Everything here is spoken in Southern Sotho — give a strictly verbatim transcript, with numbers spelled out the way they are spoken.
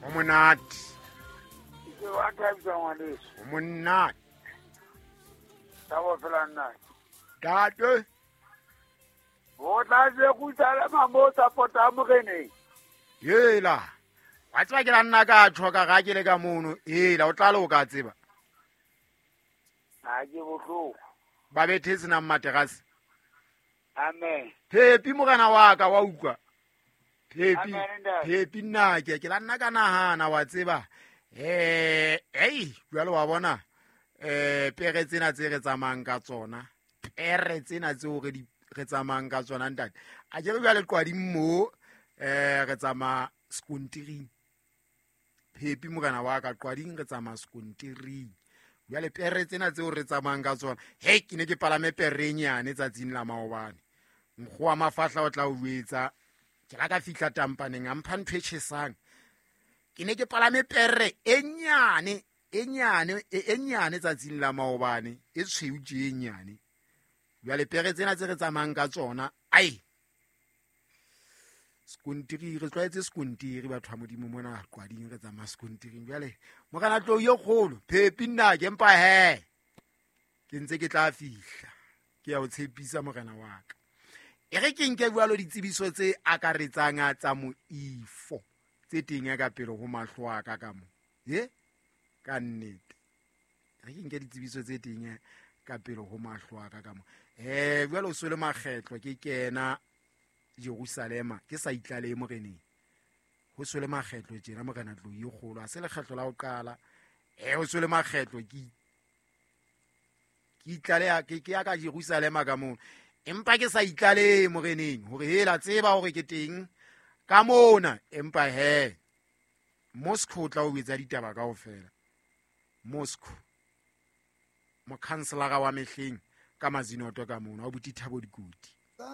Ho monate. Ke wa thabisa ngwaneso. Ho monate. Tabo fela nna. Ntate. Ho tla Jerusalema mo support-a moreneng. Hela. Wa tseba ke la nna ka tjho ka ga ke le ka mono. Hela o tla le o ka tseba. Ha ke bohloko. Ba bethe senang materase. Amen. Phepi morena wa ka wa utlwa. Phepi. Amen, ntate. Phepi nna ke ke la nna ka nahana wa tseba. Eh, ei, jwale wa bona eh pere tsena tse re tsamayang ka tsona. Pere tsena tseo re di re tsamayang ka tsona ntate. A ke re jwale qwading mo eh re tsamaya sekontiring. Phepi morena wa ka qwading re tsamaya sekontiring. Jwale pere tsena tseo re tsamayang ka tsona. Hei, ke ne ke palame pere e nyane tsatsing la maobane. Nkgo wa mafahla o tla o jwetsa. Ke la ka fihla tampaneng a mpha ntho e tjhesang. Ke ne ke palame pere e nyane, e nyane, e, e nyane tsatsing la maobane, e tshweu tje e nyane. Jwale pere tsena tse re tsamayang ka tsona, ai. Sekontiri, re tlwaetse sekontiri batho ba Modimo mona qwading re tsamaya sekontiring. Jwale morena tlou e kgolo, phepi nna ke mpa he. Ke ntse ke tla fihla. Ke ya o tshepisa morena wa ka. E re ke nke jwalo ditsebiso tse akaretsang tsa moifo tse teng ka pele ho mahlo a ka ka mo. He? Ka nnete. E re ke nke ditsebiso tse teng ka pele ho mahlo a ka ka mo. Eh, jwale o so le makgetlo ke kena Jerusalema ke sa itlalehe moreneng. Ho so le makgetlo tjena morena tlou e kgolo. Ha se lekgetlo la ho qala. Eh, ho so le makgetlo ke ke itlaleha ke ke ya ka Jerusalema ka moo. Empa ke sa itlalehe moreneng hore hela tseba hore ke teng ka mona, empa he Moscow o tla o etsa ditaba kaofela. Moscow mokhanselara wa mehleng ka Mazinoto ka mona wa buti Thabo Dikoti.